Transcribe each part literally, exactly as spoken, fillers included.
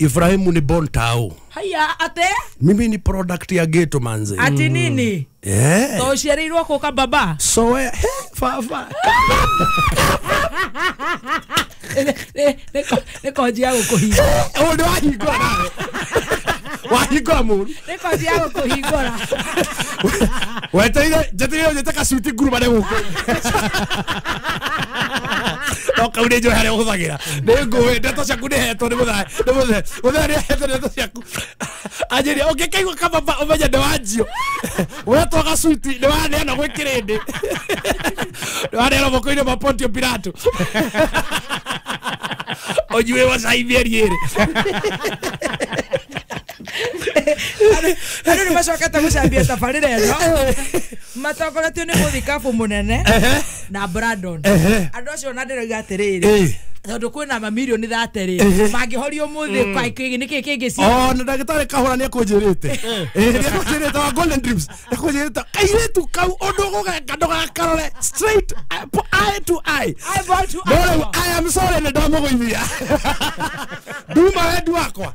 Ibrahimu ni born tao. Haya ate mimi ni product ya ghetto manze. Ati nini? Eh. To uciarirwo kuka baba. So eh fa fa. Ne ne ne koji ya gukuhingura. Oh no wahingura nawe. Wahingura muru. Ne koji ya gukuhingura. Weteire njeteire njete kacuti ngurumane guku. No kau nĩ njũĩ harĩa ũhũthagĩra nĩ ngũĩ ndeto ciaku nĩ hetwo nĩ mũthae nĩ mũthae mũthae nĩ hetwo ndeto ciaku anjĩria ũngĩkaigua kababa ũmenye nĩ wanjio wetwo gacuti nĩ waneana gwĩ kĩrĩndĩ nĩ waneana moko-inĩ ma Pontio Pilato ũnyue cai mĩeri ĩrĩ. Andũ nĩ macokete gũcambia tabarĩra ĩno matongoretio nĩ mũthikabu mũnene na Brandon. Andũ acio ona ndĩroiga atĩrĩrĩ tondũ kwĩna mamirioni thate rĩ mangĩhorio ũmũthĩ kwa nĩkĩ kĩngĩ ci oh na ndagĩtarĩ Kahũra nĩekũnjĩrĩte ĩĩ nĩekũnjĩrĩte wa Golden Dreams nĩekũnjĩrĩte kairĩtu kau ũndũ ũgũgeka ndũgakarore straight eye to eye eyeball to eyeball. I am sorry nĩ ndamũgũithia nduma wendi wakwa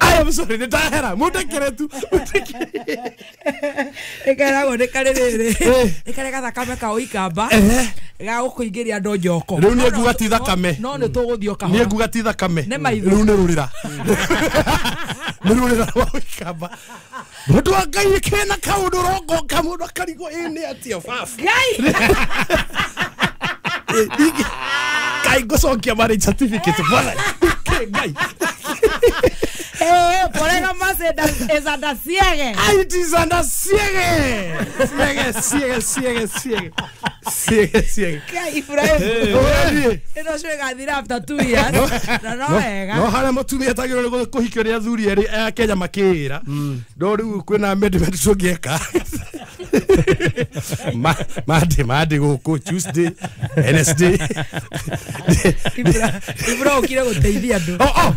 I am sorry nĩ ndahera mũndekere tu ĩkeragwo nĩ karĩ rĩrĩ nĩ karĩ gathakame ka ũikamba ga gũkũingĩria andũ njoko rĩu nĩ nguga ti thakame no nĩ tũgũthiĩ o kahora nĩ nguga ti thakame nĩ maitho rĩu nĩ rũrĩra nĩ rũrĩra rwa ũikamba mũndũ wa Ngai kĩna kaũndũ ũrongoka mũndũ akarigwo ĩ nĩ atĩa baba Ngai Ngai ngũcokia marriage certificate bwana Ngai Eh, por eso más es anda ciegue. Ay, it is anda ciegue. Ciegue, ciegue, ciegue, ciegue. Ciegue, ciegue. ¿Qué? Ibrahim. Eno cwega thira after two years. Na no wega. No harĩa mũtumia atagĩrĩirwo nĩ kũhikio nĩ athuri erĩ a Kenya makĩĩra. No rĩu kwĩna amendment tũngĩka. Monday, Monday gũkũ Tuesday, Wednesday. Ibra ũkire gũteithia andũ. Oh, oh,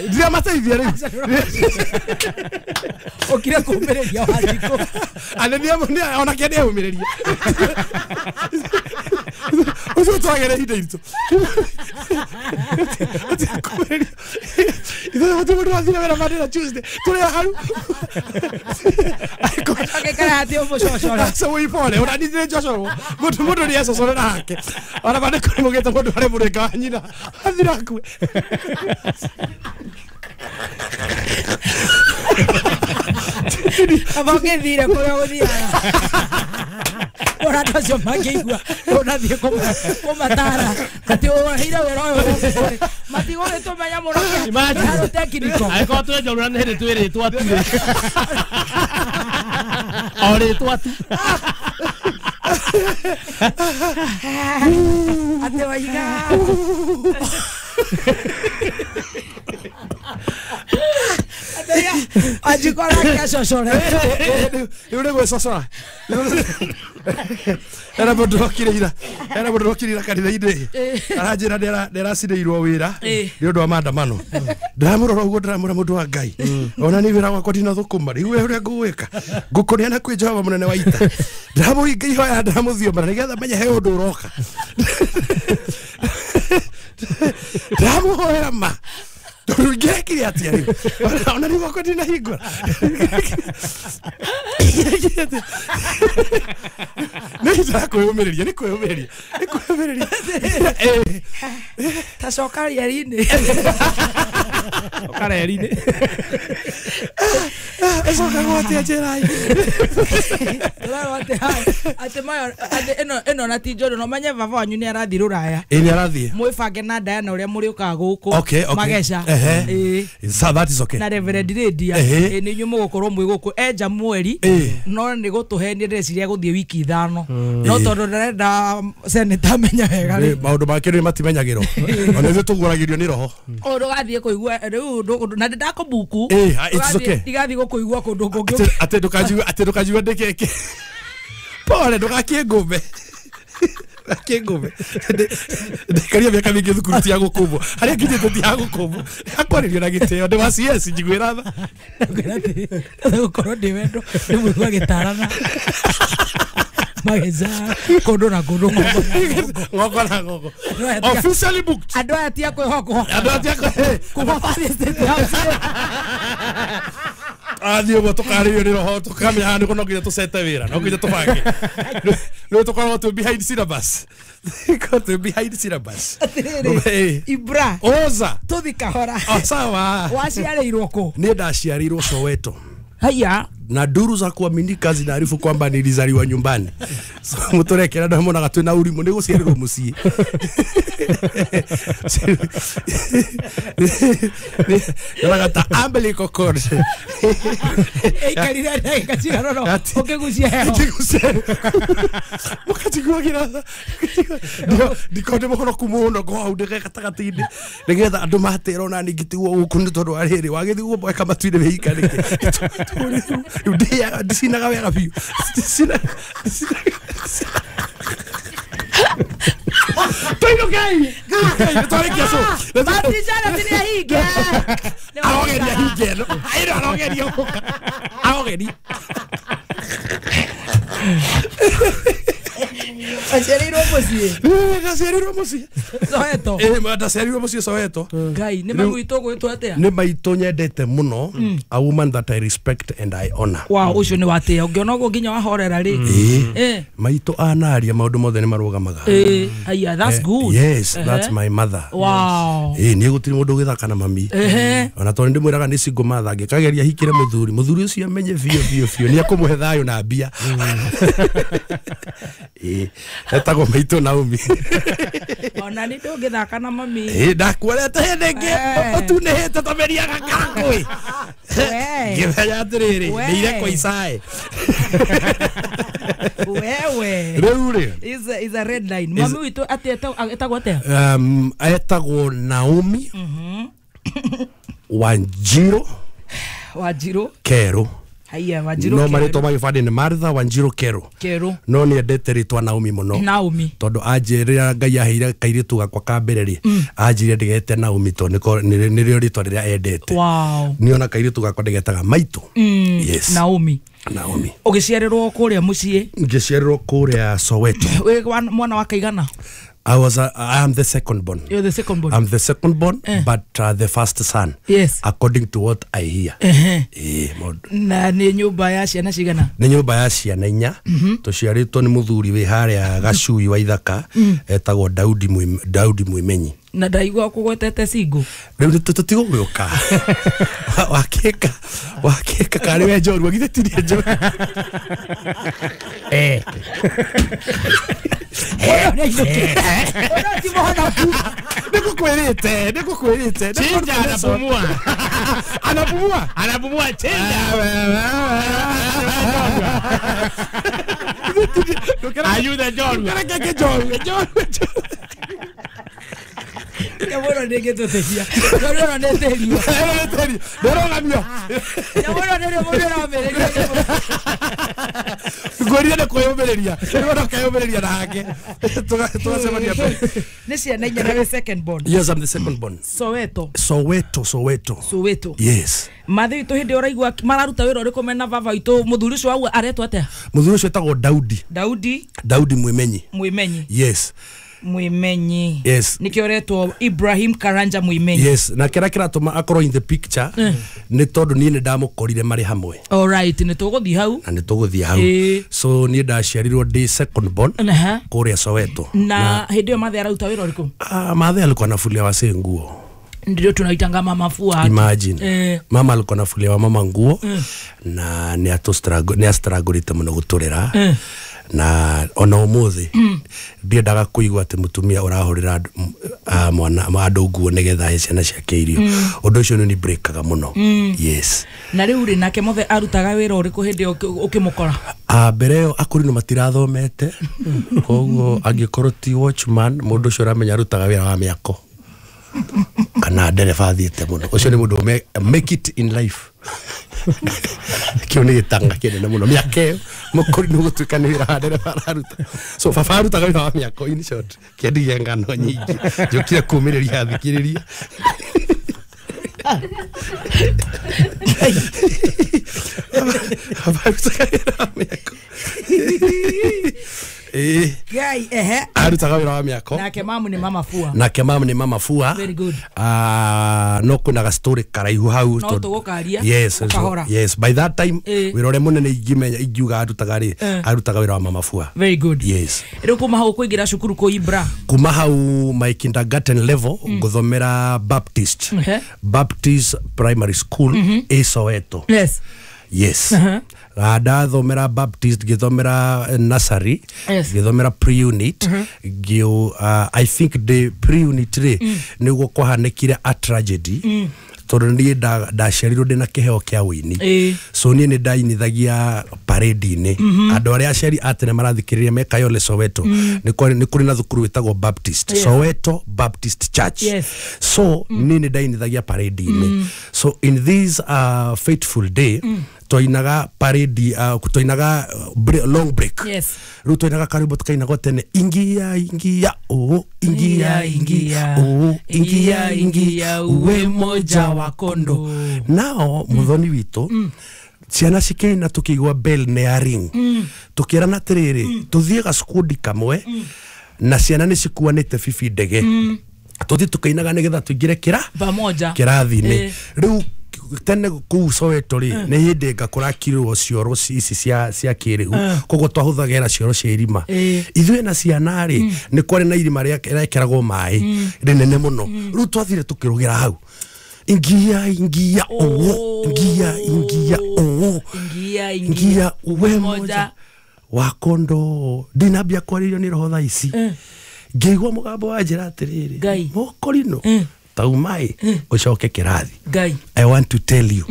ndiramateithia rĩu. Ũkire kũũmĩrĩria Wanjikũ. Anene onake nĩeyũmĩrĩria. Ũcio twagere ihinda iritũ. Ithuĩ gũtirĩ mũndũ wathire wĩra Monday na Tuesday. Tũrĩ haru. Agĩikara atĩ ũmũcocore. Aca wĩpore ona niĩ nĩ njocorwo. Mũndũ mũndũ nĩ ecocorera hake. Ona bande kũrĩ mũgĩte mũndũ arĩ mũrĩnga wa nyina. Athira akue. Aba ũgĩthire kũrĩa ũgũthiaga. Ora andũ acio mangĩigua ũrathiĩ kũmatara atĩ ũheire wĩra ũyũ matigũgĩtũmenya mũno harũ tekniko. Angĩkorwo twĩ njorua nĩ hĩndĩ twĩrĩtwo tu rĩ. O rĩtwa tu. Atĩ waiga. Wanjikũ arakĩacocore. Rĩu nĩ gwĩcocora. Hena mũndũ ũrokire ira. Hena mũndũ ũrokire ira kanitha-inĩ. Aranjĩra nĩaracinĩirwo wĩra nĩ ũndũ wa maandamano. Ndĩramũrora ũguo ndĩramwĩra mũndũ wa Ngai. Ona niĩ wĩra wakwa ndinathũkũma rĩu we ũrĩa ngũgwĩka. Ngũkũneana kwĩ Jehova mũnene wa ita. Ndĩramũhinga ihoya ndĩramũthiomera nĩgetha menye he ũndũ ũroka. Ndĩramũhoera ma. Tondũ ingĩrekire atĩa rĩu? Ona niĩ gwakwa ndinahingũra. Nĩ ihinda rĩa kwĩyũmĩrĩria, nĩ kwĩyũmĩrĩria, nĩ kwĩyũmĩrĩria. Ta coka rĩeri-inĩ. Coka rĩeri-inĩ. Ĩcokagwo atĩa njĩra-inĩ? Tũrerwo atĩ atĩ mayo atĩ ĩno ĩno na ti njũru no menye baba wanyu nĩ arathiĩ rũraya. Ĩ nĩ arathiĩ. Mwĩbange na Diana ũrĩa mũrĩũkaga gũkũ. Okay, okay. Mageca. Ĩĩ. So that is okay. Na Reverend Lydia. Ĩ nĩ inyuĩ mũgũkorwo mwĩ gũkũ enja mweri no nĩ gũtũhenia ndĩreciria gũthiĩ wiki ithano. No tondũ ndarenda senator amenye wega rĩ. Maũndũ make rĩu matimenyagĩrwo. Ona ithuĩ tũguũragĩrio nĩ roho. O ndũgathiĩ kũigua rĩu na ndakũbuku. Ĩ, it's okay. Ndigathiĩ gũkũigua kũndũ kũngĩ. Atĩ ndũkanjigue atĩ ndũkanjigue ndĩkeke. Pole ndũgakĩngũme. Ndũgakĩngũme. Ndikaria mĩaka mĩingĩ thukuru ti ya gũkũmbwo. Harĩa nginyĩte ti ya gũkũmbwo. Akwarĩrio na gĩtĩo ndĩ wa C S njiguĩra tha. Gũkorwo ndĩ wendo ndĩmũigua gĩtarana. Mageza kondo na kondo ngoko na ngoko officially booked andu aya ti akwihokwo andu aya ti kuma Father State House athiä å guo tå karä rio nä roho tå kamenya haha nä no nginya tå cete wä ra no nginya tå bange nä tå koragwo twä behind syllabus twä behind syllabus Atirĩrĩ, Ibra oza tũthi kahora o sawa waciarĩirwo kũ niä ndaciarĩirwo Soweto haya na duru za kuaminika zinaarifu kwamba nilizaliwa nyumbani. So mutorekera ndo monaga twina urimu ni guciarirwo mucii. Yonaga ta umbilical cord. Eikarire ndagĩka cigana ũna ũkĩgucia heho. Ũkĩgucia. Mũkatiguagĩra. Ndiko ndĩ mũhonoku mũno ngo hau ndĩ gatagatĩ-inĩ nĩgetha andũ matĩra ona niĩ ngĩtigwo gũkũ nĩ tondũ wa rĩrĩ wagĩthiĩ gũboeka matu-inĩ wĩika nĩkĩ. Rĩu ndicinaga wega biũ. Ndicinaga Tũinũkei. Twarĩkia cũ. Matijana nĩ ahinge. Arogeria hinge ĩno. Ĩno arogeria gũka. Arogeria. Aciarĩirwo mũciĩ. Ndaciarĩirwo mũciĩ. Soweto. Eh, ndaciarĩirwo mũciĩ Soweto. Ngai, nĩ mami witũ ũgwĩtwo atĩa? Nĩ maitũ nyendete mũno, a woman that I respect and I honor. Wow, ũcio nĩ watĩa. Ũngĩona ũguo nginya wahorera rĩ. Eh. Maitũ anaria maũndũ mothe nĩ marũgamaga. Eh, haya, that's good. Yes, that's my mother. Wow. Eh, niĩ gũtirĩ mũndũ ũgĩthaka na mami. Ona tondũ ndĩmwĩraga nĩ single mother angĩkageria hikĩre mũthuri, mũthuri ũcio amenye biũ biũ biũ nĩ ekũmũhe thayũ na mbia. Eh, etagwo maitũ Naomi. Ona nĩ ndũngĩthaka na mami. Eh, ndakuorete hĩndĩ ĩngĩ ũtunĩhĩte ta mĩri ya gakangũĩ. Ngĩmenya atĩrĩrĩ, nĩire kwa Isaĩ. Wewe. Rĩu rĩ. Is a, is a red line. Mami witũ atĩ etagwo atĩa? Um, etagwo Naomi. Wanjiru. Wanjiru. Keru. Haya, Wanjiru. No marĩtwa ma gĩbandĩ nĩ Martha Wanjiru Keru. Keru. No nĩendete rĩtwa Naomi mũno. Naomi. Tondũ anjĩrĩra Ngai aheire kairĩtu gakwa ka mbere rĩ, anjĩrire ndĩgete Naomi tondũ nĩrĩo rĩtwa rĩrĩa endete. Wow. Niĩ ona kairĩtu gakwa ndĩgetaga Maitũ. Yes. Naomi. Naomi. Ũgĩciarĩrwo kũrĩa mũciĩ? Ngĩciarĩrwo kũrĩa Soweto. Wĩ mwana wa kaigana? I was a, I am the second born. You're the second born. I'm the second born, eh. but uh, the first son. Yes. According to what I hear. Eh. Eh, maũndũ. Na nĩ nyũmba ya ciana cigana? Nĩ nyũmba ya ciana inya. Tũciarĩtwo nĩ mũthuri wĩ harĩa Gacui wa Ithaka, etagwo Daudi Mwim, Daudi Mwimenyi. Na ndaigua kũgwetete single. Rĩu tũtigũgĩũka. Wakĩka, wakĩka karĩ we njorua, githĩ ti niĩ njorua. Eh. Nĩngũkwĩrĩte, nĩngũkwĩrĩte. Chinja anapumua. Anapumua? Anapumua chinja. Ayuda njorua. Reke njorua, njorua. Nyamũ nĩ ĩngĩtũteithia. Njorua nĩ ĩtĩrio. Ndĩrogamio. Nyamũ nĩrĩo mũndũ ũramĩrĩria. Ngwĩrire nĩ kwĩyũmĩrĩria. Rĩu ndakeyũmĩrĩria na hake. Tũgacemania mbere. Nĩ ciana inya na wĩ second born. Yes, I'm the second born. Soweto. Soweto, Soweto. Soweto. Yes. Mathi witũ hĩndĩ ũraigua mararuta wĩra ũrĩkũ mena baba witũ mũthuri ũcio wau aretwo atĩa? Mũthuri ũcio etagwo Daudi. Daudi. Daudi Mwimenyi. Mwimenyi. Yes. Mwimenyi. Yes. Nikio retwo Ibrahim Karanja Mwimenyi. Yes, na kĩrĩa kĩratũma akorwo in the picture nĩ tondũ niĩ nĩ ndamũkorire marĩ hamwe. All right, nĩ tũgũthiĩ hau. Na nĩ tũgũthiĩ hau. So niĩ ndaciarirwo ndĩ second born kũrĩa Soweto. Na hĩndĩ ĩyo Mathe araruta wĩra ũrĩkũ? Ah, Mathe alikuwa anafulia wasee nguo. Ndio tunaitanga mama fua. Imagine. Eh. Mama alikuwa anafulia wa mama nguo eh. Na nĩ atũ struggle, nĩ astruggle mũno gũtũrera. Eh. Na ona ũmũthĩ mm. ndiendaga kũigua atĩ mũtumia ũrahũrĩra uh, mwana andũ nguo nĩgetha ahe ciana ciake irio. Mm. Ũndũ ũcio nĩ breakaga mũno. Mm. Yes. Na rĩu rĩ nake mothe arutaga wĩra ũrĩkũ hĩndĩ ĩyo ũkĩmũkora? Ah, mbere ĩyo akũrinũ matirathomete koguo angĩkorwo ti watchman mũndũ ũcio ũramenya arutaga wĩra wa mĩako kana ndereba athiĩte mũno. Ũcio nĩ mũndũ make it in life. Kĩu nĩ gĩtanga kĩnene mũno mĩaka ĩyo mũkũrinũ gũtuĩka nĩ wĩra wa ndereba araruta. So baba arutaga wĩra wa mĩako in short kĩendirie ngano nyingĩ njũkire kũmĩrĩria athikĩrĩria. Baba arutaga wĩra wa mĩako. Ĩĩ. Ngai ehe. Arutaga wĩra wa mĩako. Nake mamu ni mama fua. Nake mamu nĩ mama fua. Very good. Ah, no kwĩna ga story karaihu hau. No tondũ- tũgũkaria, Yes, ũkahora. yes, by that time Ĩĩ. wĩra ũrĩa mũnene ingĩmenya ingiuga arutaga rĩ, Eh. arutaga wĩra wa mama fua. Very good. Yes. Rĩu kuma hau kũingĩra cukuru kũ Ibra. Kuma hau my kindergarten level nguthomera Baptist. Ehe. Baptist Primary School ĩ Soweto. Yes. Yes. Uh-huh. Uh, ndathomera Baptist, ngĩthomera eh, nursery, Yes. ngĩthomera pre-unit, ngĩ uh, I think the pre-unit rĩ nĩguo kwahanĩkire a tragedy, tondũ niĩ nda- ndaciarirwo ndĩna kĩheo kĩa ũini. Ĩĩ. So niĩ nĩ ndainithagia parade-inĩ. Andũ arĩa aciari a tene marathikĩrĩria me Kayole Soweto, nĩ kwarĩ- nĩ kũrĩ na thukuru wĩtagwo Baptist. Yes. Soweto Baptist Church. Yes. So niĩ nĩ ndainithagia parade-inĩ. So in this uh, fateful day twainaga parade, uh, twainaga uh, bre- long break. Yes. Rĩu twainaga karwĩmbo tukainagwo tene, ingia ingia oo ingia ingia oo ingia ingia uwe moja wa kondo. Nao muthoni witũ ciana cikĩina tũkĩigua bell nĩ ya ring, tũkĩrana atĩrĩrĩ, tũthiĩ gacukundi kamwe na ciana nĩ cikuanĩte bibi ndege, tũthiĩ tũkainaga nĩgetha tũingĩre kĩra Pamoja. kĩrathi-inĩ. Eh. Rĩu tene kũu Soweto rĩ, nĩ hĩndĩ nga kũrakirwo cioro ci- ici cia cia kĩrĩu, koguo twahũthagĩra cioro cia irima. Eh. Ithuĩ na ciana rĩ, nĩ kwarĩ na irima rĩa- rĩekeragwo maĩ rĩnene mũno. Rĩu twathire tũkĩrũgĩra hau, ingia ingia oo ingia ingia oo Ingia ingia. ingia uwe Moja. moja wa kondo. Ndinambia kwarĩrio nĩ roho thaa ici, ngĩigua mũgambo wa njĩra atĩrĩrĩ, Ngai. mũkorino taumai ũcoke kĩrathi. Ngai. I want to tell you,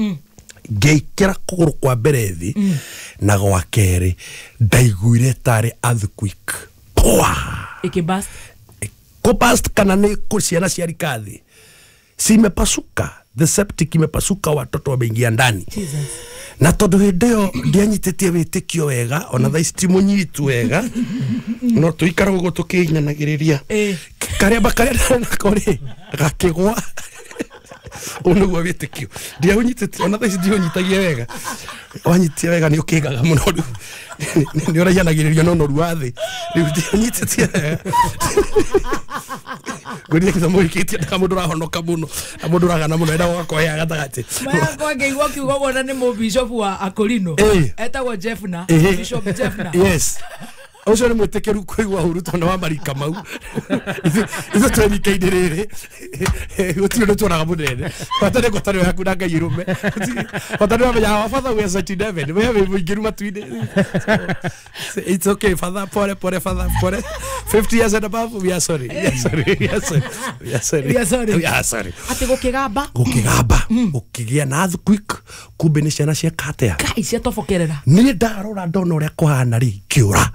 ngĩikĩra kũgũrũ kwa mbere thĩ na gwa kerĩ, ndaiguire tarĩ earthquake. Pwa! Ikibast. Kũbast kana nĩ kũ ciana ciarika thĩ cimepasuka, the septic imepasuka, watoto wameingia ndani. Jesus. Na tondũ hĩndĩ ĩyo ndianyitĩtie wĩtĩkio wega, ona thaa ici ti mũnyitu wega, no tũikara ũguo tũkĩinyanagĩrĩria. Eh. Karemba karĩa ndarĩ nako rĩ gakĩgwa. Ũũ nĩguo wĩtĩkio ndiaũnyitĩtie, ona thaa ici ndiũnyitagia wega. Wanyitia wega nĩ ũkĩgaga mũno, rĩu nĩ ũraihanagĩrĩrio na ũnoru wa thĩ. Rĩu ndiũnyitĩtie wega, ngwĩrire gĩthomo gĩkĩtie ndaka mũndũ ũrahonoka mũno na mũndũ ũragana mũno enda gũgakohea gatagatĩ. Maya kwa ngĩigua kiugo wona nĩ mũbishop wa Akorino. Eh. Etagwo Jeffna. Ĩhĩ. Bishop Jeffna. Yes, ũcio nĩ mwĩtĩkĩru kũigua ũru tondũ wa marika mau. Ithuĩ twerika-inĩ rĩrĩ gũtirĩ ũndũ tuonaga mũnene, bata nĩ ngwatanĩro yaku na Ngai ĩrũme. Bata nĩ wamenya our father we are in heaven, we wĩ mũingĩru matu-inĩ. It's okay, father, pole pole, father, pole. fifty years and above, we are sorry, we are sorry, we are sorry, we are sorry. We are sorry. We are sorry. Atĩ gũkĩgamba. Gũkĩgamba, gũkĩgĩa na earthquake, kumbe nĩ ciana cieka atĩa? Ngai ciatobokerera. Niĩ ndarora ndona ũrĩa kũhana rĩ, ngĩũra.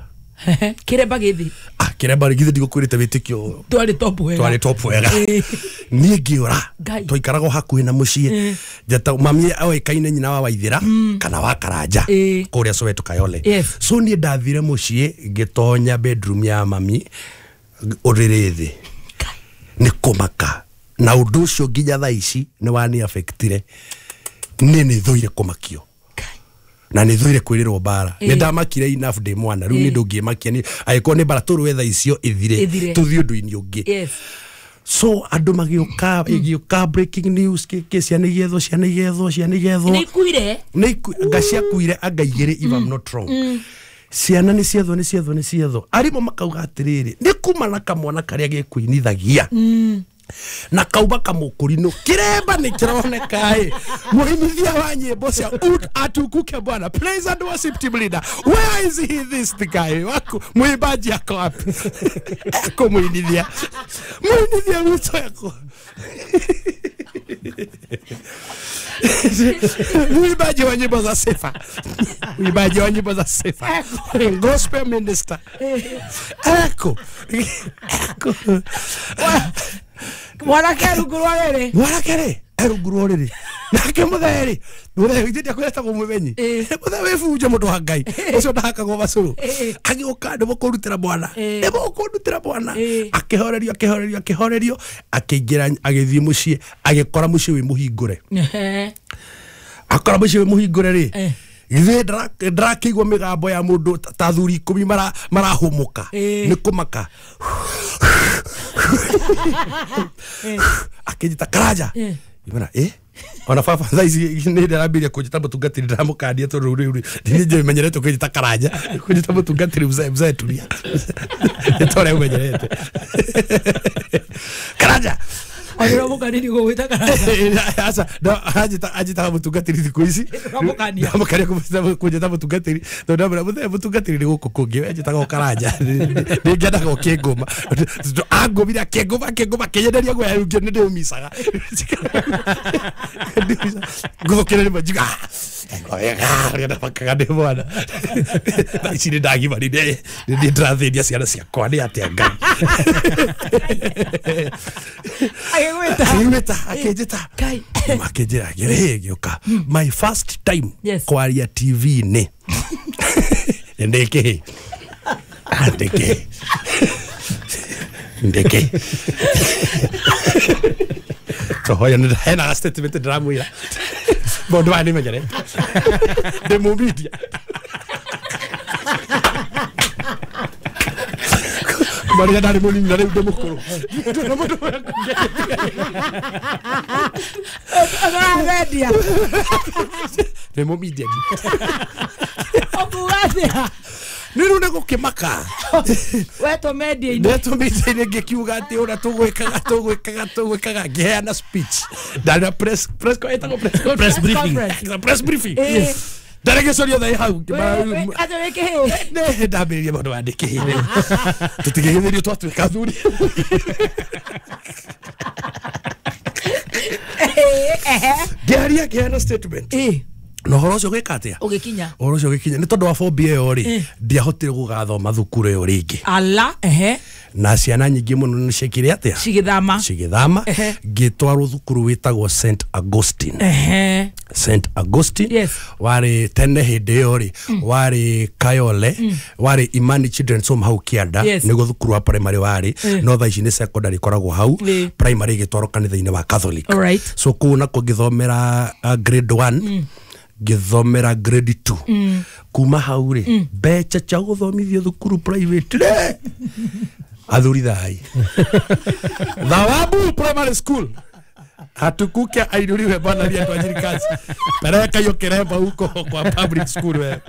Kĩremba gĩthĩ. Ah, kĩremba rĩ, githĩ ndigũkwĩrĩte wĩtĩkio Twarĩ top wega. twarĩ top wega. Ĩĩ. Niĩ ngĩũra. Ngai. Twaikaraga o hakuhĩ na mũciĩ. Ĩĩ. Njeta mami oĩkaine nyina wa Waithĩra kana wa Karanja Ĩĩ. kũrĩa Soweto Kayole. Yes. So niĩ ndathire mũciĩ, ngĩtonya bedroom ya mami, ũrĩrĩ thĩ nĩ kũmaka, na ũndũ ũcio nginya thaa ici nĩ wani affectire. Niĩ nĩ thũire kũmakio na nĩ thũire kwĩrĩrwo mbara. Ĩĩ. Nĩ ndamakire enough ndĩ mwana, rĩu Ĩĩ. nĩ ndũngĩmakia nĩ angĩkorwo nĩ mbara tũrũe thaa icio ĩthire, Ĩthire. tũthiĩ ũndũ-inĩ ũngĩ. Yes. So andũ magĩũka, ĩgĩũka breaking news, kĩkĩ, ciana igethwo, ciana igethwo, ciana igethwo. Nĩ ikuire. Nĩ iku- anga ciakuire anga igĩrĩ, if I'm not wrong. Ciana nĩ ciethwo, nĩ ciethwo, nĩ ciethwo. Arimũ makauga atĩrĩrĩ, nĩ kuma na kamwana karĩa gĩkũinithagia na kauma kamũkũrinũ, kĩremba nĩ kĩroneka ĩ mũinithia wa nyĩmbo cia ud atukuke bwana, praise and worship team leader, where is he, this guy waku mwimbaji ako wapi? Eko mũinithia, mũinithia witũ eko mwimbaji wa nyimbo za sifa, mwimbaji wa nyimbo za sifa, gospel minister eko eko Mwanake rungu rwa rĩrĩ. Mwanake rĩ erungu rwa rĩrĩ, nake mũthee rĩ, mũthee githĩ ndiakwĩretagwo mũmenyi? Ĩĩ. Mũthee wĩ bunjo, mũndũ wa Ngai ũcio ndahakagwo macũrũ. Ĩĩ. Agĩũka, nĩ mũkũndutĩra mwana, Ĩĩ. nĩ mũkũndutĩra mwana. Ĩĩ. Akĩhorerio, akĩhorerio, akĩhorerio, akĩingĩra, agĩthiĩ mũciĩ, agĩkora mũciĩ wĩ mũhingũre. Ehe. Akora mũciĩ wĩ mũhingũre rĩ, Eh. Githĩ ndĩrakĩigua mĩgambo ya mũndũ ta athuri ikũmi marahũmũka nĩ kũmaka. Akĩnjĩta Karanja. Ngĩmwĩra ĩ ona baba thaa ici nĩ ndĩrambĩrĩria kũnjĩta mũtungatĩri ndĩramũkania tondũ rĩu rĩu niĩ menyerete kũnjĩta Karanja kũnjĩta mũtungatĩri mzee mzee tulia nĩ ta ũrĩa ũmenyerete Karanja. Ũramũkania gũgwĩta Karanja. Aca no anjĩta anjĩtaga mũtungatĩri thikũ ici ndũramũkania ndĩramũkania kũnjĩta mũtungatĩri tondũ ndamwĩra mũthee mũtungatĩri nĩ gũkũ kũngĩ we anjĩtaga o Karanja nĩngĩendaga ũkĩngũma angũmire akĩngũma akĩngũma akĩnyenderia guoya rĩu nĩ ndĩũmicaga ngũthũkĩra rĩmwe njiga wega ũrĩa ndamakaga ndĩ mwana thaa ici nĩ ndagimarire nĩ ndĩrathĩnia ciana ciakwa nĩ atĩa Ngai. Agĩgwĩta akĩnjĩta akĩnjĩta akĩnjĩra ngĩrĩ gĩũka my first time kwaria T V-inĩ ndĩkĩ ndĩkĩ ndĩkĩ tohoya hena statement ndĩramwĩra maũndũ maya nĩmenyerete ndĩ mũmedia Maria ndarĩ mũnini na rĩu ndĩ mũkũrũ. Ũramedia. Ndĩ mũmedia. Ũkuga atĩa? Nĩ rĩu nĩ gũkĩmaka. Wetwo media-inĩ. Ndetwo media-inĩ ngĩkiuga atĩ ũrĩa tũgwĩkaga tũgwĩkaga tũgwĩkaga ngĩheana speech. Ndarĩ na press press ĩtagwo press press briefing. Press briefing. Ndarĩgĩcoria thaa hau atĩ wĩ kĩhĩ nĩ ndambĩrĩria maũndũ maya ndĩ kĩhĩ rĩu tũtigĩgĩthĩrio twatuĩka athuri. Ngĩaria ngĩheana statement na ũhoro ũcio ũgĩka atĩa ũgĩkinya ũhoro ũcio ũgĩkinya nĩ tondũ wa phobia ĩyo rĩ ndiahotire gũgathoma thukuru ĩyo rĩngĩ ala ehe na ciana nyingĩ mũno nĩ ciekire atĩa cigĩthama cigĩthama ngĩtwarwo thukuru wĩtagwo Saint Augustine ehe Saint Augustine yes. Warĩ tene hĩndĩ ĩyo rĩ warĩ Kayole warĩ Imani Children's Home hau Kĩanda yes. Nĩguo thukuru wa primary warĩ no thaa ici nĩ secondary ĩkoragwo hau yeah. Primary ĩgĩtwarwo kanitha-inĩ wa Catholic. Alright. So kũu nakuo ngĩthomera uh, grade one mm. Ngĩthomera grade two mm. Kuma hau rĩ mbeca cia gũthomithio thukuru private rĩ athuri thai Thawabu Primary School hatukuke ainuliwe bwana aliye tuajiri kazi peleka hiyo kiremba huko kwa public school wewe.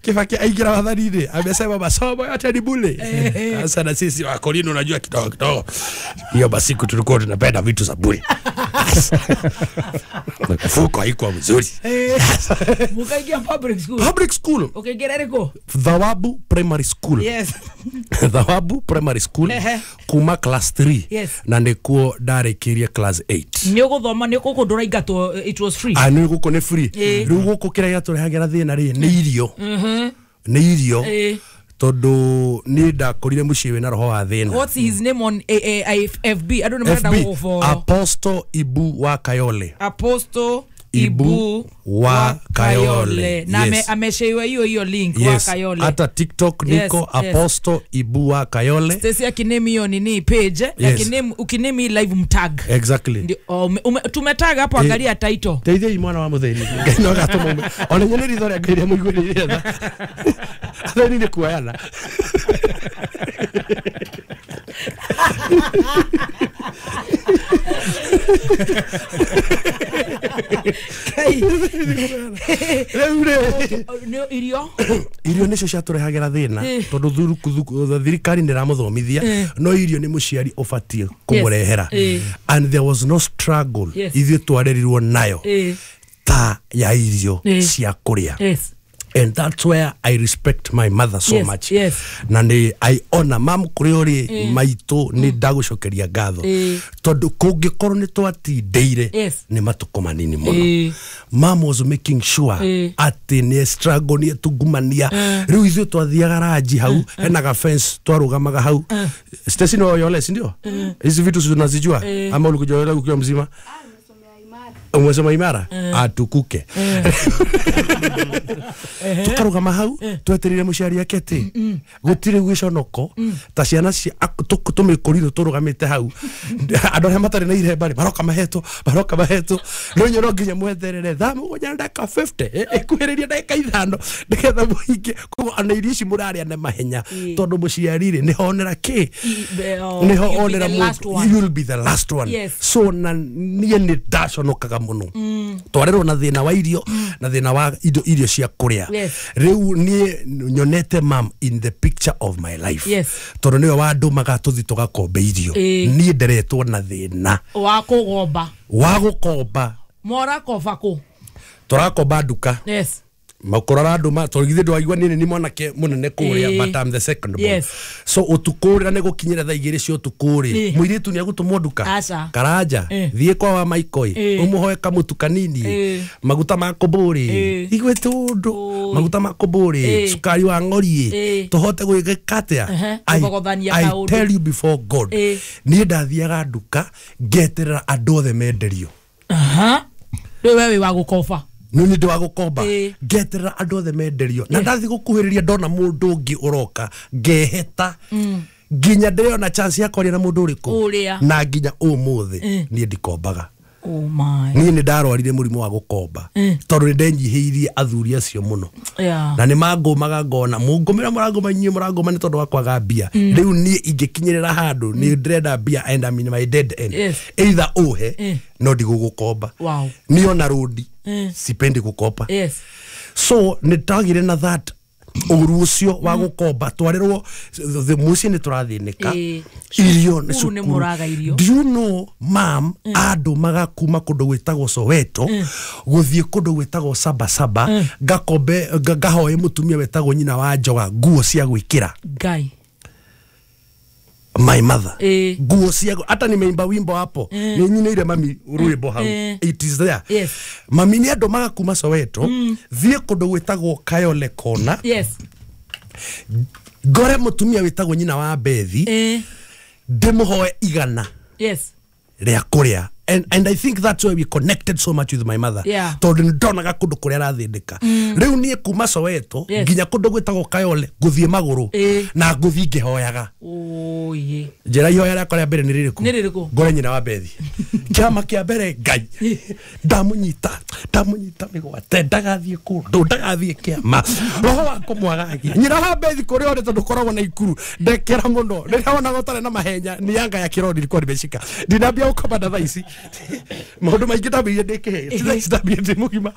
Kibaki aingira wathani-inĩ amesema masomo yote ni bure. Sasa na sisi wakolini unajua kidogo kidogo hiyo basi tulikuwa tunapenda vitu za bure. Mfuko haikuwa mzuri. Mukaingia public school. Public school. Ukaingia rĩkũ? Thawabu Primary School. Yes. Thawabu Primary School kuma class three. Yes. Na nĩkuo ndarĩkĩrie class eight. Nĩ ũgũthoma nĩ gũkũ ndũraingatwo it was free. Ah nĩ gũkũ nĩ free. Rĩu gũkũ kĩrĩa gĩatũrehagĩra thĩna rĩ nĩ irio. Mhm. Nĩ irio. Tondũ niĩ ndakorire mũciĩ wĩna roho wa thĩna. What's his name on A A F B? I don't know where for. Apostle Ibu wa Kayole. Apostle Ibu wa Kayole. Na yes. Ameshare hiyo hiyo link yes. Wa Kayole. Hata TikTok niko yes, Apostle yes. Ibu wa Kayole. Stacy akiname hiyo nini page yes. Akiname ukiname live mtag. Exactly. Ndio um, tumetag hapo angalia title. Teithia mwana wa mutheni. Ngai no gatuma. Ona nyone ritho rĩa Ngai rĩa mũiguĩrĩire tha. Atheni nĩ kuoyana. Irio irio nicio ciatũrehagĩra thĩna tondũ thukuru thirikari nĩ ĩramũthomithia no irio nĩ mũciari ũbatiĩ kũmũrehera and there was no struggle ithuĩ twarerirwo nayo ta ya irio cia kũrĩa. And that's where I respect my mother so yes, much. Yes. Na ni I honor mam kuri uri mm. maitũ ni ndagũcokeria ngatho. Mm. Tondũ kũngĩkorwo nĩ twatindeire yes. nĩ matukũ manini mũno. Mm. Mam was making sure mm. atĩ nĩ struggle nĩ tungumania. Mm. Rĩu ithuĩ twathiaga ranji hau mm. hena ga fence twarũgamaga hau. Mm. Stacy no yole si ndio? Mm. Hizi vitu unazijua mm. ama ulikuja ukiwa mzima? Umesema imara atukuke. Tukarugama hau tweterire muciari akete gutire gwiconoko ta ciana tumikorirwo turugamite hau andu aria matari na iremba ri maroka mahetwo maroka mahetwo no nyo no nginya mwetherere thaa mugwanja na ndagika fifty ikuhiriria ndagika ithano nigetha muhinge. Koguo ona irio ici muraria na mahenya tondu muciari ri nihonera ki niho onera you'll be the last one. So na nie ni ndaconokaga muno twarerwo na thina wa irio na thina wa indo irio cia kuria. Riu nie nyonete mam in the picture of my life tondu niwe wandumaga tuthi tugakombe irio nie nderetwo na thina wa kugomba wa gukomba morakoba ku turakomba nduka. Yes. Makorora andu ma tondu githĩ ndwaigua niĩ nĩ mwanake munene kuria but I'm the second born. Yes. So utukũ rĩ nĩ gũkinyĩra thaa igĩrĩ cia ũtukũ rĩ mũirĩtu nĩ agũtũmwo nduka Karanja thiĩ kwa wa Maikoi ũmũhoe kamũtu kanini maguta ma kũmbũrĩ igwe tũndũ maguta ma kũmbũrĩ cukari wa ng'ori tũhote gwĩka atĩa. I tell you before God niĩ ndathiaga nduka ngeterera andũ othe menderio. Aha. Rĩu we wĩ wa gũkoba nä nä ndä wa gå komba ngeterera andå othe menderio na ndathi gå kuhä rä ria ndona må ndå å ngä å roka ngeheta nginya ndä rona chance ya kwaria na må ndå å rä kå na nginya å må thä niä ndikombaga. Niä nä ndarwarire må rimå wa gå komba tondå nä ndenyihä irie athuri acio må no na nä mangåmaga ngona må ngå mä ra må rangåma inyuä må rangåma nä tondå wa kwaga mbia rä u niä ingä kinyä rä ra handå nä ndärenda mbia and I'm in my dead end either ũhe no ndigå gå komba niĩ ona rũndi sipendi gukopa. Yes. So nitagire na that uru ucio wa gukomba twarirwo muciĩ nĩ tũrathĩnĩka irio nĩ cukuru. Do you know mam andumaga kuma kũndũ gwĩtagwo Soweto gũthiĩ kũndũ gwĩtagwo Sabasaba ngakombe ngahoe mũtumia wetagwo nyina wa Njoga nguo cia gwĩkĩra. Ngai. My mother nguo cia hata nimeimba wimbo hapo ni nyinire mami rwimbo hau it is there. Yes. Mami ni andumaga kuma Soweto thiĩ kũndũ gwĩtagwo Kayole Kona. Yes. Ngore mũtumia wĩtagwo nyina wa Bethi ndĩmũhoe igana. Yes. Rĩa kũrĩa. And, and I think that's why we connected so much with my mother. Tondu ndonaga kundu kuria arathindika. Riu nie kuma Soweto nginya kundu gwitagwo Kayole nguthie maguru na nguthie ngihoyaga. Oye. Njira ihoya rĩakwa rĩa mbere nĩ rĩrĩkũ? Nĩ rĩrĩkũ? Ngore nyina wa Bethi. Kĩama kĩa mbere Ngai. Ndamunyita, ndamunyita mĩgwate ndagathiĩ kũndũ, ndagathiĩ kĩama. Roho wa kũmwagagia. Nyina wa Bethi kũrĩa ũrĩ tondũ koragwo na ikuru. Ndekera mũno. Rĩrĩa wonaga ũtarĩ na mahenya nĩ yanga ya kĩroni ilikuwa nimeshika. Ndinambia gũkoma na thaa ici. Maũndũ maingĩ ndambĩrĩirie ndĩ kĩhĩĩ ti thaa ici ndambĩrĩirie ndĩ mũgima.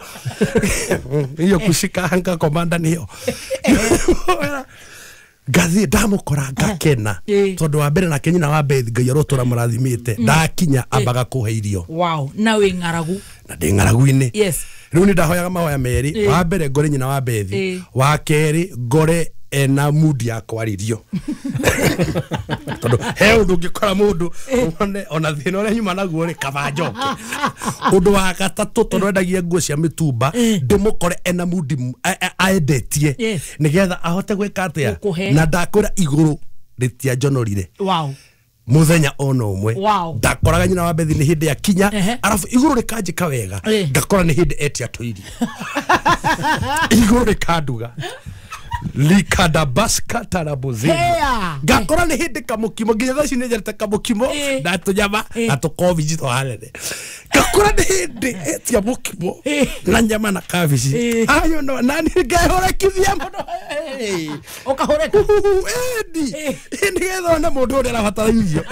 Iyo kushika hanga komanda nĩyo. Ngathiĩ ndamũkora ngakena tondũ wa mbere nake nyina wa Bethi Ngai arotũra mũrathimĩte ndakinya ambaga kũhe irio. Wow, na wĩ ng'aragu. Na ndĩ ng'aragu-inĩ. Yes. Rĩu nĩ ndahoyaga mahoya merĩ, wa mbere ngore nyina wa Bethi, wa kerĩ ngore ena mood ya kwarĩrio. Tondũ he ũndũ ũngĩkora mũndũ one ona thĩna ũrĩa nyuma naguo rĩ kaba njoke. Ũndũ wa gatatũ tondũ endagia nguo cia mĩtumba ndĩmũkore ena mood aendetie nĩgetha ahote gwĩka atĩa na ndakwĩra igũrũ rĩtianjonorire. Wow. Muthenya ona ũmwe Wow. ndakoraga nyina wa Bethi nĩ hĩndĩ ya kinya arabu igũrũ rĩkanjĩka wega ngakora nĩ hĩndĩ etia tũirio. Igũrũ rĩkanduga likadabaska tarabozini ngakora nĩ hĩndĩ kamũkimo nginya thaa ici nĩ njarĩte kamũkimo na tũnyama na tũkobici tũhanene ngakora nĩ hĩndĩ etia mũkimo na nyama na kabici ayo no na nĩ ngehũrekithia mũno ũkahũreka ĩni nĩgetha one mũndũ ũrĩa arabatara irio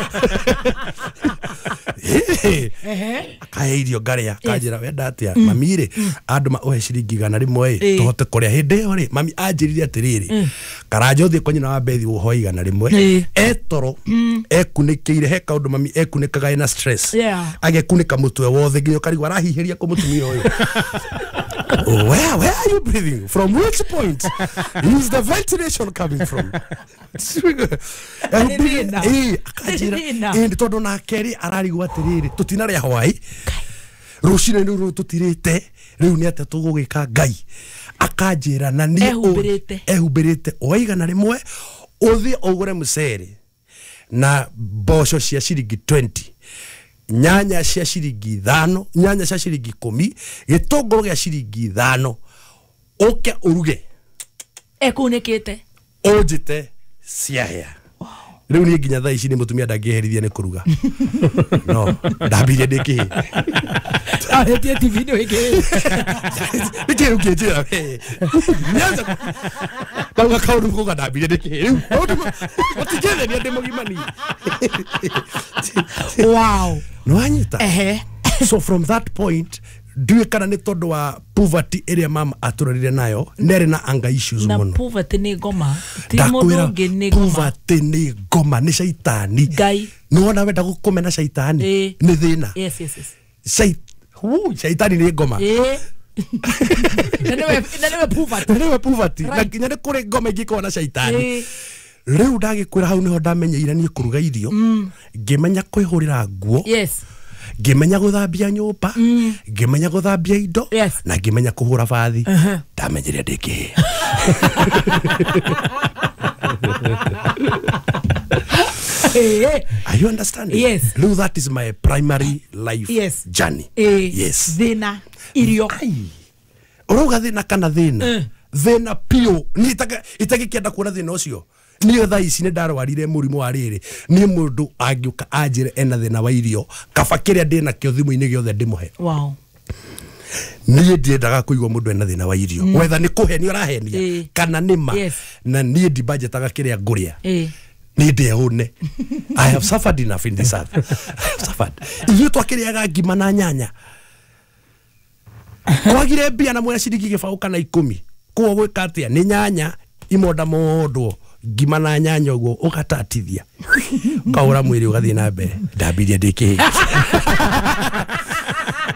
akahe irio ngarĩa akanjĩra wenda atĩa mami rĩ andũma ũhe ciringi igana rĩmwe ĩ tũhote kũrĩa hĩndĩ ĩyo rĩ mami anjĩrire atĩrĩrĩ Karanja ũthiĩ kwa nyina wa Bethi ũhoe igana rĩmwe etoro ekunĩkĩire he kaũndũ mami ekunĩkaga ena stress agekunĩka mũtwe wothe nginya ũkarigwo arahihĩria kũ mũtumia ũyũ. Where, where are you breathing? From which point is the ventilation coming from? Tondũ nake rĩ ararigwo atĩrĩrĩ tũtinarĩa hwaĩ rũcinĩ rũrũ tũtirĩte rĩu nĩ atĩa tũgũgĩka Ngai akanjĩra na niĩ ehumbĩrĩte oe igana rĩmwe ũthiĩ ũgũre mũcere na mboco cia ciringi twenty Nyanya cia ciringi ithano, nyanya cia ciringi ikumi, gĩtũngũrũ gĩa ciringi ithano. Ũke ũruge. Ekunĩkĩte. Ũnjĩte ciahĩa. Rĩu niĩ nginya thaa ici nĩ mũtumia ndangĩherithia nĩ kũruga. No, ndambirie ndĩ kĩhĩ. Arĩtie T V nĩ wĩkĩrĩte. Nĩ kĩĩ ũkĩnjĩra we? Nyanza ndauga kaũndũ kuga ndambirie ndĩ kĩhĩ. Rĩu maũndũ matingĩthenia ndĩ mũgima niĩ. Wow. Nĩwanyita? Ehe. So from that point ndiũĩ kana nĩ tondũ wa poverty ĩrĩa mama atũrerire nayo, nĩarĩ na anger issues Na mũno. poverty nĩ ngoma. Ti mũndũ Ndakwĩra ũngĩ nĩ ngoma. poverty nĩ ngoma, nĩ caitani. Ngai. Nĩwona wenda gũkũmena caitani Ĩĩ. nĩ thĩna. Yes, yes, yes. Cai- Uu, caitani nĩ ngoma. Ĩĩ. Na nĩwe na nĩwe poverty. Na nĩwe poverty. Na Right. nginya nĩ kũrĩ ngoma ingĩkorwo na caitani. Ĩĩ. Rĩu ndagĩkwĩra hau nĩho ndamenyeire niĩ kũruga irio, ngĩmenya kwĩhũrĩra nguo, Yes. ngĩmenya gũthambia nyũmba, ngĩmenya gũthambia indo, Yes. na ngĩmenya kũhũra bathi. Ndamenyire ndĩ kĩhĩ. Ĩĩ. Are you understanding? Yes. Rĩu that is my primary life Yes. journey. Ĩĩ. Yes. Thĩna. Irio. Ai. Ũrauga thĩna kana thĩna? Thĩna piũ. Niĩ itagĩkĩenda kuona thĩna ũcio. Niĩ thaa ici nĩ ndarwarire mũrimũ wa rĩrĩ. Niĩ mũndũ angĩũka anjĩre ena thĩna wa irio, kaba kĩrĩa ndĩnakĩo thimũ-inĩ gĩothe ndĩmũhe. Wow. Niĩ ndiendaga kũigua mũndũ ena thĩna wa irio. Wetha nĩ kũhenia ũrahenia Ĩĩ. kana nĩ ma. Yes. Na niĩ ndimbanjetaga kĩrĩa ngũrĩa. Ĩĩ. Niĩ ndĩhũne. I have suffered enough in this earth. I have suffered. Ithuĩ twakĩrĩaga ngima na nyanya. Kwagire mbia na mwena ciringi gĩbaũ kana ikũmi. Koguo gwĩka atĩa? Nĩ nyanya imonda mondwo ngima na nyanya ũguo ũgatatithia. Ũkahũra mwĩrĩ ũgathiĩ na mbere. Ndambirie ndĩ kĩhĩ.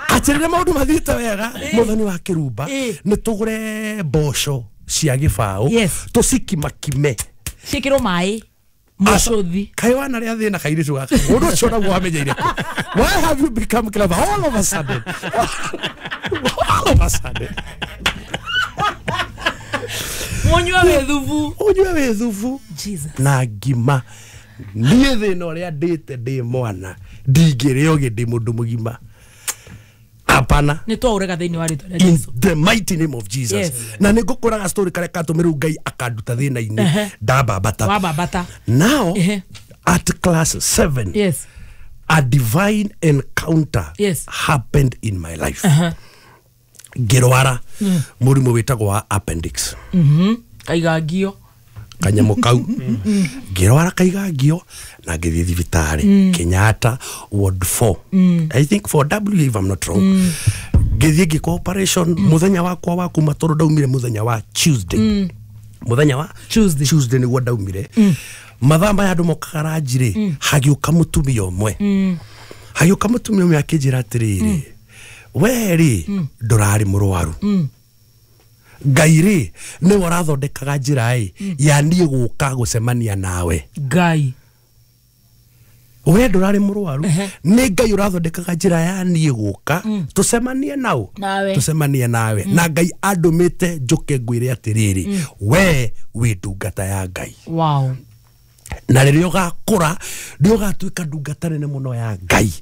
Atĩrĩrĩ maũndũ mathiĩte wega mũthoni wa kĩrumba Ĩĩ. nĩ tũgũre mboco cia gĩbaũ Yes. tũcikimakime. Ciĩkĩrwo maĩ. Mũcũthi. Kaĩ wanarĩa thĩna kairĩtu gaka. Mũndũ ũcio naguo wamenyeire kũ? Why have you become clever all of a sudden? All of a sudden. Mũnyue wĩ thubu. Ũnyue wĩ thubu. Jesus. Na ngima. Niĩ thĩna ũrĩa ndĩte ndĩ mwana ndingĩrĩa ũgĩ ndĩ mũndũ mũgima. Hapana. Nĩ twaũrega thĩinĩ wa rĩtwa rĩa In Jesu. the mighty name of Jesus. Yes. Na nĩ ngũkũraga story karĩa katũmĩrwo Ngai akanduta thĩna-inĩ Ehe. ndambambata. Wambambata. Now Ehe. at class seven Yes. a divine encounter Yes. happened in my life. Uh-huh. Ngĩrwara mũrimũ wĩtagwo wa appendix. Mhm. Kaigangio. Kanyamũ kau. Ngĩrwara kaigangio na ngĩthiĩ thibitarĩ Kenyatta ward four. I think four W if I'm not wrong. Ngĩthiĩ ngĩkwo operation mũthenya wakwa wa kuma tondũ ndaumire mũthenya wa Tuesday. Mũthenya wa Tuesday. Tuesday nĩguo ndaumire. Mathaa maya andũ mokaga ranji rĩ, hagĩũka mũtumia ũmwe. Hagĩũka mũtumia ũmwe akĩnjĩra atĩrĩrĩ, we rĩ ndũrarĩ mũrwaru. Ngai rĩ nĩwe ũrathondekaga njĩra ĩ ya niĩ gũka gũcemania nawe. Ngai. We ndũrarĩ mũrwaru, Ehe. nĩ Ngai ũrathondekaga njĩra ya niĩ gũka tũcemanie nao. Nawe. Tũcemanie nawe. Na Ngai andũmĩte njũke ngwĩre atĩrĩrĩ, we wĩ ndungata ya Ngai. Wow. Na rĩrĩa ũgakũra nĩ ũgatuĩka ndungata nene mũno ya Ngai.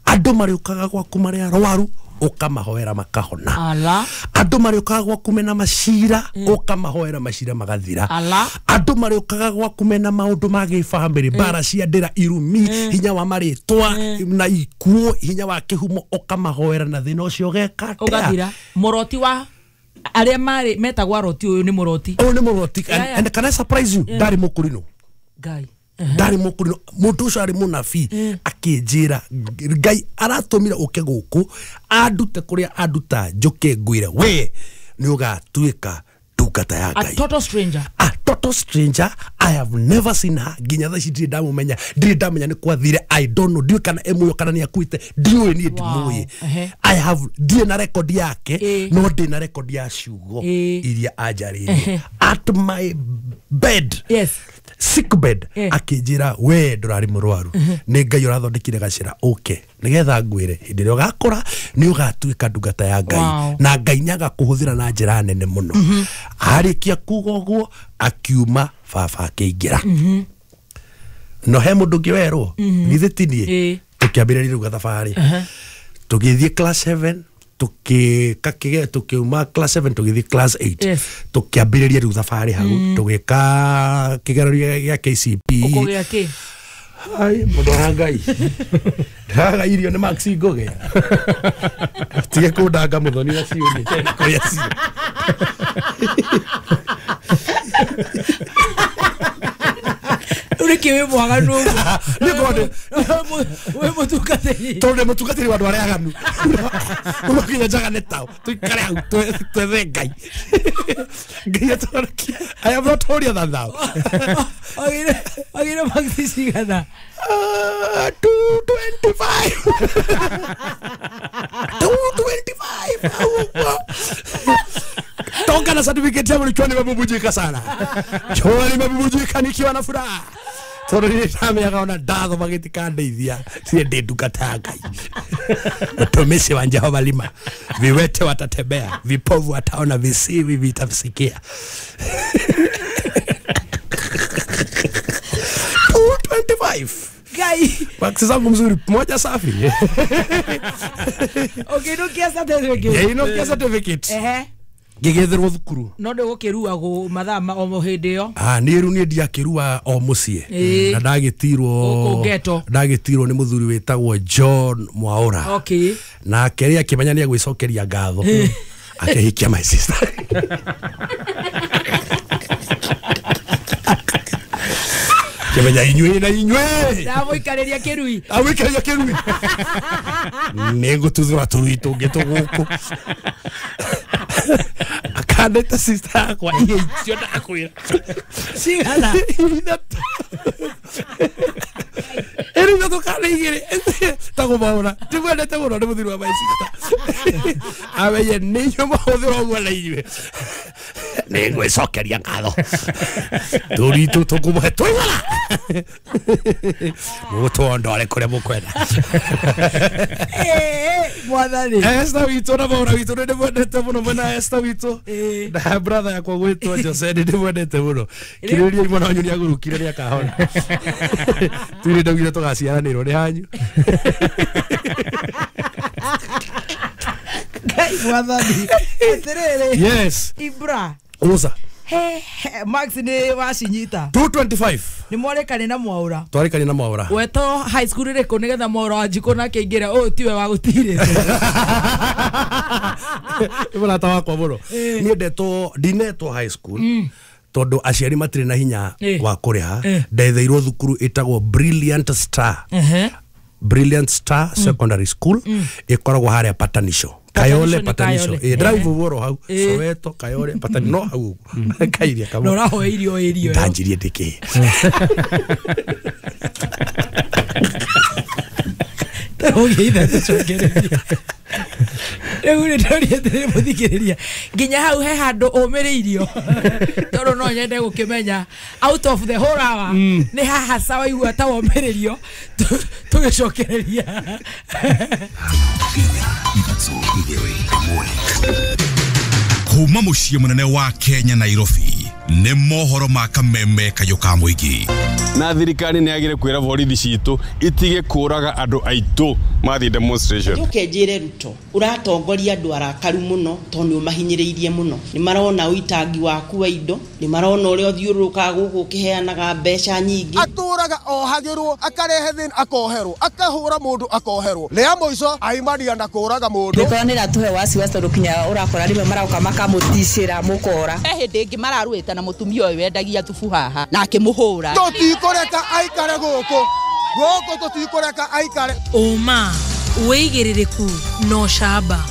Andũ marĩũkaga gwaku marĩ arwaru ũkamahoera makahona. Ala. Andũ marĩũkaga gwaku mena macira ũkamahoera macira magathira. Ala. Andũ marĩũkaga gwaku mena maũndũ ma gĩbamĩrĩ, mbara cia ndĩra, irumi, hinya wa marĩtwa na ikuũ, hinya wa kĩhumo, ũkamahoera na thĩna ũcio ũgeka atĩa? Ũgathira. Mũroti wa arĩa marĩ metagwo aroti ũyũ nĩ mũroti. Ũyũ nĩ mũroti. Yeah, yeah. And can I surprise you? Ndarĩ mũkũrinũ. Ngai. Ndarĩ mũkũrinũ. Mũndũ ũcio arĩ mũnabii akĩnjĩra Ngai aratũmire ũke gũkũ andute kũrĩa anduta njũke ngwĩre we nĩ ũgatuĩka ndungata ya A Ngai. total stranger. A total stranger. I have never seen her. Nginya thaa ici ndirĩ ndamũmenya, ndirĩ ndamenya nĩ kwathire. I don't know, ndiũĩ kana e muoyo kana nĩ akuĩte, ndiũĩ niĩ ndimũĩ. Ehe. I have ndirĩ na record yake, Ĩ. no ndĩ na record ya ciugo Ĩ. iria anjarĩirie Ehe. at my bed. Yes. Sick bed. Eh. Akĩnjĩra we ndũrarĩ mũrwaru, nĩ Ngai ũrathondekire gacĩra ũke nĩgetha ngwĩre hĩndĩ ĩrĩa ũgakũra nĩ ũgatuĩka ndungata ya Ngai. Wow. Na Ngai nĩ agakũhũthĩra na njĩra nene mũno. Arĩkia kuga ũguo akiuma, baba akĩingĩra. No he mũndũ ũngĩ werwo githĩ ti niĩ? Ĩ. Tukiambĩrĩria rĩu gathabarĩ. Tũgĩthiĩ class seven, tukika kige tukiuma class seven tugithii class eight. Yes. Tukiambiriria riu thabarĩ hau tugika kigerio gĩa K C P. Ukugĩa kĩ? Ai mundu wa Ngai. Ndiraga irio nĩ Max Ngugi. Tige kundanga muthoni na ciũni kũrĩa ciĩ. Uri kiwe mwaganu. Nĩ ngone. We mutungatĩri. Tondũ nĩ mũtungatĩri wa andũ arĩa aganu. Uno kinya njagane tao. Tuikare hau twethe Ngai. Ngai atũhonokie. I am not holier than thou. Ogire ogire Max cigana. Uh, two twenty-five. two twenty-five. Toka na certificate yangu nikiwa nimebubujika sana. Nikiwa nimebubujika nikiwa na furaha. Tondũ nĩndamenyaga ona ndathoma gĩtikandeithia niĩ ndĩ ndungata ya Ngai. Watumishi wa Jehova lima, viwete watatembea, vipofu wataona, visiwi vitasikia. two twenty-five. Ngai. Maksi zangu mzuri, moja safi. Ũkĩinũkia certificate. Ngĩinũkia certificate. Ehe. Ngĩgĩethĩrwo thukuru. No ndũgũkĩruagwo mathaa ma o hĩndĩ ĩyo. Ah, niĩ rĩu niĩ ndiakĩrua o mũciĩ. Na ndagĩtirwo ndagĩtirwo nĩ mũthuri wĩtagwo John Mwaura. Okay. Nake rĩ akĩmenya nĩ egwĩcokeria ngatho. Akĩhikia my sister. Kĩmenya inyuĩ na inyuĩ. Ndamũikarĩria kĩrui. Amũikarĩria kĩrui. Nĩngũtuthũra tũrui tũngĩ tũgũkũ. Akandeta sister yakwa ihe icio ndakwĩra. Cigana? Ithatũ. Ĩrĩ ithatũ kana igĩrĩ. Tagũmaũra. Ndimwendete mũno nĩ mũthuri wa my sister. Amenye nĩ inyuĩ mahũthĩra ũguo na inyuĩ. Nĩngwĩcokeria ngatho. Tũrui tũtũ tũkũmũhe tũigana. Mũgũtwondore kũrĩa mũkwenda. Mwathani. Esther witũ na Maura witũ nĩ ndĩmwendete mũno mwena Esther witũ. Na brother yakwa gwĩtwo Jose nĩ ndĩmwendete mũno. Kirĩrĩria mwana wanyu nĩ agũrũkire nĩ akahona. Tuire ndaugire tũgaciaranĩrwo nĩ hanyu. Ngai mwathani. Atĩrĩrĩ. Yes. Ibra. Uza. He, Max nĩ wacinyita. two twenty-five. Nĩ mwarĩkane na Mwaura. Twarĩkane na Mwaura. Wetwo high school ĩrĩkũ nĩgetha Mwaura wa Njikũ nake aingĩre ũyũ tiwe wa gũtirĩte. Nĩ mũrata wakwa mũno. Niĩ ndetwo ndinetwo high school. Tondũ aciari matirĩ na hinya wa kũrĩha. Ndetheirwo thukuru ĩtagwo Brilliant Star. Brilliant Star Secondary School ĩkoragwo harĩa Patanisho. Kayole Patanisho. Eh drive woro hau. Soweto Kayole Patanisho no hau. Kairia kamwe. No raho irio irio. Ndanjirie ndiki. Ũgĩitha tũcokereria. Rĩu nĩ ndoria atĩrĩrĩ mũthikĩrĩria nginya hau he handũ ũmĩrĩirio tondũ no nyende gũkĩmenya out of the whole hour nĩ haha ca waigua ta womĩrĩrio tũgĩcokereria. Kuma mũciĩ mũnene wa Kenya Nairobi nĩ mohoro ma kameme kayũ ka mũingĩ. Na thirikari nĩ yagire kwĩra borithi citũ itige kũraga andũ aitũ mathiĩ demonstration. Njoke njĩre Ruto ũratongoria andũ arakaru mũno tondũ nĩ ũmahinyĩrĩirie mũno. Nĩ marona ũitangi waku wa indo, nĩ marona ũrĩa ũthiũrũrũkaga gũkũ ũkĩheanaga mbeca nyingĩ. Atũraga ohagĩrwo, akarehe thĩna akoherwo, akahũra mũndũ akoherwo. Rĩa mũico aimaria na kũraga mũndũ. Mĩkora nĩ ĩratũhe wasiwasi tondũ kinya ũrakora rĩmwe maroka makamũticĩra mũkora. He hĩndĩ ĩngĩ mararũĩte na mũtumia ũyũ wendagia thubu haha na akĩmũhũra. Tũtikũreka aikare gũkũ. Gũkũ tũtikũreka aikare. Ũma, wĩigĩrĩrĩku no camba.